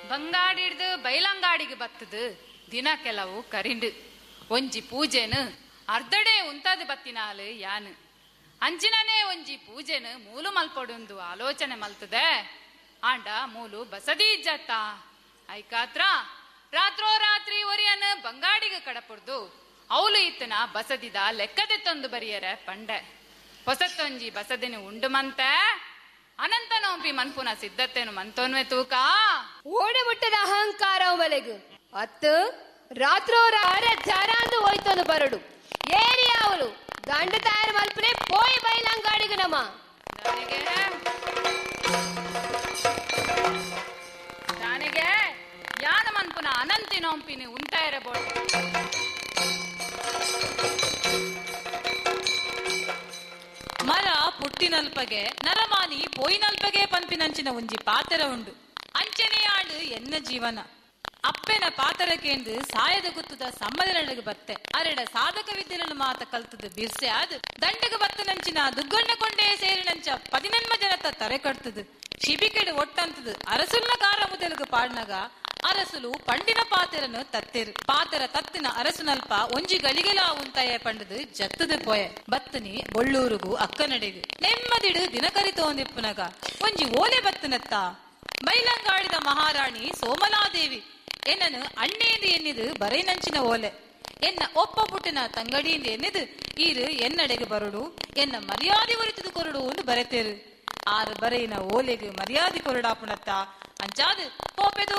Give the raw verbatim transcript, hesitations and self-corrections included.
ಬಂಗಾಡಿಡ್ದು ಬೈಲಂಗಾಡಿಗೆ ಬತ್ತದು ದಿನ ಕೆಲವು ಕರಿಂಡು ಒಂಜಿ ಪೂಜೆನು ಅರ್ಧಡೆ ಉಂತಾದ ಬತ್ತಿನಾಲು ಯಾನು ಅಂಚಿನನೇ ಒಂಜಿ ಪೂಜೆನು ಮೂಲು ಮಲ್ಪೊಡುಂದು ಆಲೋಚನೆ ಮಲ್ತದೆ. ಆಂಡ ಮೂಲು ಬಸದಿ ಇಜ್ಜತ್ತ ಐಕಾತ್ರ ರಾತ್ರೋ ರಾತ್ರಿ ಒರಿಯನ್ ಬಂಗಾಡಿಗೆ ಕಡಪುಡ್ದು ಅವಲು ಇತ್ತನ ಬಸದಿದ ಲೆಕ್ಕದೆ ತಂದು ಬರಿಯರ ಪಂಡೆ. ಹೊಸತ್ತೊಂಜಿ ಬಸದಿನ ಉಂಡು ಮಂತೆ ಅನಂತ ನೋಂಪಿ ಮನ್ಪುನ ಸಿದ್ಧತೆನು ಮಂತೋನ್ವೆ ತೂಕ ಓಡೆ ಮುಟ್ಟದ ಅಹಂಕಾರ ಮಲೆಗು ಅತ್ತು ರಾತ್ರೋ ರಾರ ಜರಾಂದು ಹೋಯ್ತೊಂದು ಬರಡು ಏರಿ ಅವಳು ಗಂಡ ತಯಾರು ಮಲ್ಪನೆ ಪೋಯಿ ಬೈಲಂಗಾಡಿಗೆ ನಮ್ಮ ನನಗೆ ಯಾನ ಮನ್ಪುನ ಅನಂತಿ ನೋಂಪಿನಿ ಉಂಟ ಇರಬಹುದು. ಮರ ಪುಟ್ಟಿನಲ್ಪಗೆ ನರಮಾನಿ ಪೋಯಿನಲ್ಪಗೆ ಪನ್ಪಿನಂಚಿನ ಒಂಜಿ ಪಾತರ ಉಂಡು. ಅಂಚನೆಯಾಳು ಎನ್ನ ಜೀವನ ಅಪ್ಪೆನ ಪಾತರಕೇಂದು ಸಾಯದ ಗುತ್ತದ ಸಮ್ಮದನಡೆಗೆ ಬತ್ತೆ ಅರೆಡ ಸಾಧಕ ವಿದ್ಯೆలను ಮಾತ ಕಲ್ತದ ಬಿರ್ಸೆ ಆದ್ ದಂಡಗ ಬತ್ತನಂಚಿನ ದುಗ್ಗಣ್ಣ ಕೊಂಡೇ ಸೇರಿನಂಚ ಪದಿನನ್ಮ ಜನತ ತರೆ ಕಟ್ತದು ಶಿಬಿಕೆಡು ಒಟ್ಟಂತದು ಅರಸುಲ್ನ ಕಾರ ಮುದಲುಗು ಪಾಡ್ನಗ ಅರಸುಲು ಪಂಡಿನ ಪಾತೆರನು ತತ್ತೆರು ಪಾತೆರ ತತ್ತಿನ ಅರಸುನಲ್ಪ ಒಂಜಿ ಗಳಿಗೆಲ ಉಂತಾಯ ಪಂಡದು ಜತ್ತದ ಪೋಯೆ ಬತ್ತನಿ ಬೊಳ್ಳೂರುಗು ಅಕ್ಕನಡೆಗು ನೆಮ್ಮದಿಡು ದಿನಕರಿ ತೋಂದಿಪ್ಪುನಗ ಒಂಜಿ ಓಲೆ ಬತ್ತನತ್ತ ಬೈಲಂಗಾಡಿದ ಮಹಾರಾಣಿ ಸೋಮಲಾದೇವಿ ಎನ್ನನು ಅಣ್ಣೇಂದು ಎನ್ನಿದು ಬರೈನಂಚಿನ ಓಲೆ ಎನ್ನ ಒಪ್ಪ ಪುಟ್ಟಿನ ತಂಗಡಿಯಿಂದ ಎನ್ನಿದು ಈರು ಎನ್ನಡೆಗೆ ಬರುಡು ಎನ್ನ ಮರ್ಯಾದೆ ಒರಿತದು ಕೊರಡು ಒಂದು ಬರೆತೇರು. ಆರು ಬರೆಯಿನ ಓಲೆಗೆ ಮರ್ಯಾದೆ ಕೊರಡಾಪುಣತ್ತ ಅಂಚಾದು ಪೋಪೆ ತೂಕ